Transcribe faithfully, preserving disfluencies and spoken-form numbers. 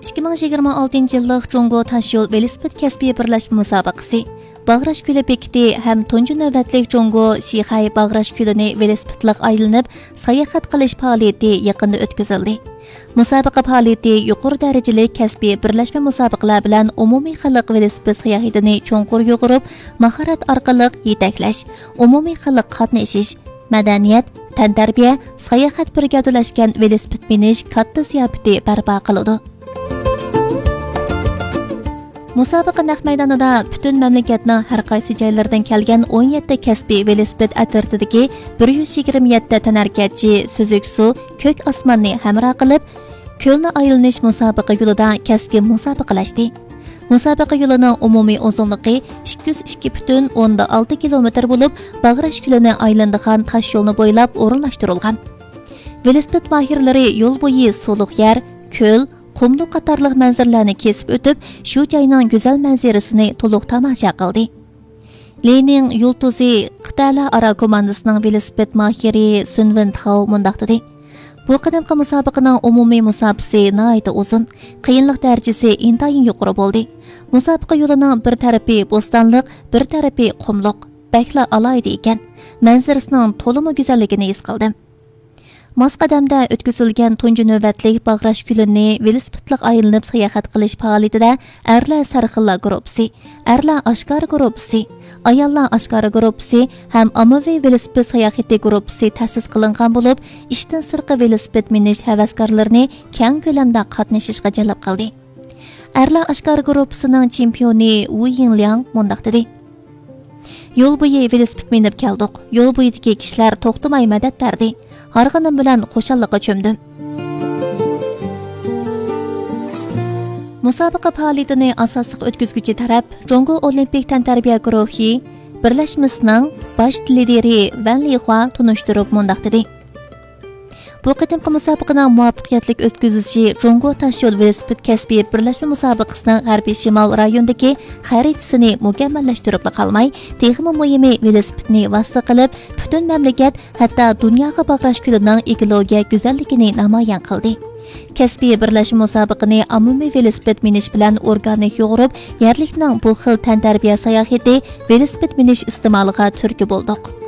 ئىككى مىڭ يىگىرمە ئالتىنچى يىللىق جۇڭگو تاشيول ۋېلىسىپىت كەسپىي بىرلەشمە مۇسابىقىسى باغراش كۆلى بېكىتى ھەم تۇنجى نۆۋەتلىك جۇڭگو شىخەي باغراش كۆلىنى ۋېلىسىپىتلىق ئايلىنىپ ساياھەت قىلىش پائالىيىتى يېقىندا ئۆتكۈزۈلدى. مۇسابىقە پائالىيىتى يۇقىرى دەرىجىلىك كەسپىي بىرلەشمە مۇسابىقىلەر بىلەن ئومۇمىي خەلق ۋېلىسىپىت ساياھىتىنى چوڭقۇر يۇغۇرۇپ، ماھارەت ئارقىلىق يېتەكلەش، ئومۇمىي خەلق قاتنىشىش، مەدەنىيەت، تەنتەربىيە، ساياھەت بىر گەۋدىلەشكەن ۋېلىسىپىت مىنىش كاتتا زىياپىتى بەرپا قىلىدۇ. مۇسابىقە نەق مەيدانىدا پۈتۈن مەملىكەتنىڭ ھەر قايسى جايلىرىدىن كەلگەن ئون يەتتە كەسپىي ۋېلىسىپىت ئەترىتىدىكى بىر يۈز يىگىرمە يەتتە تەنھەرىكەتچى سۈزۈك سۇ، كۆك ئاسماننى ھەمراھ قىلىپ، كۆلنى ئايلىنىش مۇسابىقە يولىدا كەسكىن مۇسابىقىلەشتى. مۇسابىقە يولىنىڭ ئومۇمىي ئۇزۇنلۇقى ئىككى يۈز ئىككى پۈتۈن ئوندىن ئالتە كىلومېتىر بولۇپ، باغراش كۆلىنى ئايلىنىدىغان تاش يولنى بويلاپ ئورۇنلاشتۇرۇلغان. ۋېلىسىپىت ماھىرلىرى يول بويى سۇلۇق يەر، كۆل، قۇملۇق قاتارلىق مەنزىرىلەرنى كېسىپ ئۆتۈپ، شۇ جاينىڭ گۈزەل مەنزىرىسىنى تولۇق تاماشا قىلدى. لىنىڭ يۇلتۇزى قىتئەلەر ئارا كوماندىسىنىڭ ۋېلىسىپىت ماھىرى سۈنۋىن تاۋ مۇنداق دېدى: بۇ قېتىمقى مۇسابىقىنىڭ ئومۇمىي مۇساپىسى ناھايىتى ئۇزۇن، قىيىنلىق دەرىجىسى ئىنتايىن يۇقىرى بولدى. مۇسابىقە يولىنىڭ بىر تەرىپى بوستانلىق، بىر تەرىپى قۇملۇق، بەكلا ئالاھىدە ئىكەن. مەنزىرىسىنىڭ تولىمۇ گۈزەللىكىنى ھېس قىلدىم. ماس قەدەمدە ئۆتكۈزۈلگەن تۇنجى نۆۋەتلىك باغراش كۆلىنى ۋېلىسىپىتلىق ئايلىنىپ ساياھەت قىلىش پائالىيىتىدە ئەرلەر سەرخىللار گۇرۇپپىسى، ئەرلەر ئاشكارا گۇرۇپپىسى، ئاياللار ئاشكارا گۇرۇپپىسى ھەم ئاممىۋى ۋېلىسىپىت ساياھىتى گۇرۇپپىسى تەسىس قىلىنغان بولۇپ، ئىشتىن سىرتقى ۋېلىسىپىت مىنىش ھەۋەسكارلىرىنى كەڭ كۆلەمدە قاتنىشىشقا جەلپ قىلدى. ئەرلەر ئاشكارا گۇرۇپپىسىنىڭ چېمپىيونى ۋۇ يىڭلياڭ مۇنداق دېدى: يول بويى ۋېلىسىپىت مىنىپ كەلدۇق. يول بويىدىكى كىشىلەر توختىماي مەدەت بەردى. ھارغىنىم بىلەن خۇشاللىققا چۆمدۈم. مۇسابىقە پائالىيىتىنى ئاساسلىق ئۆتكۈزگۈچى تەرەپ جۇڭگو ئولىمپىك تەنتەربىيە گۇرۇھى بىرلەشمىسىنىڭ باش لىدىرى ۋەن لىخۇا تونۇشتۇرۇپ مۇنداق دېدى: بۇ قېتىمقى مۇسابىقىنىڭ مۇۋەپپەقىيەتلىك ئۆتكۈزۈلۈشى جۇڭگو تاشيول ۋېلىسىپىت كەسپىي بىرلەشمە مۇسابىقىسىنىڭ غەربىي شىمال رايونىدىكى خەرىتىسىنى مۇكەممەللەشتۈرۈپلا قالماي، تېخىمۇ مۇھىمى ۋېلىسىپىتنى ۋاسىتە قىلىپ، پۈتۈن مەملىكەت، ھەتتا دۇنياغا باغراش كۆلىنىڭ ئېكولوگىيە گۈزەللىكىنى نامايان قىلدى. كەسپىي بىرلەشمە مۇسابىقىنى ئاممىۋى ۋېلىسىپىت مىنىش بىلەن ئورگانىك يۇغۇرۇپ، يەرلىكنىڭ بۇ خىل تەنتەربىيە ساياھىتى، ۋېلىسىپىت مىنىش ئىستېمالىغا تۈرتكە بولدۇق.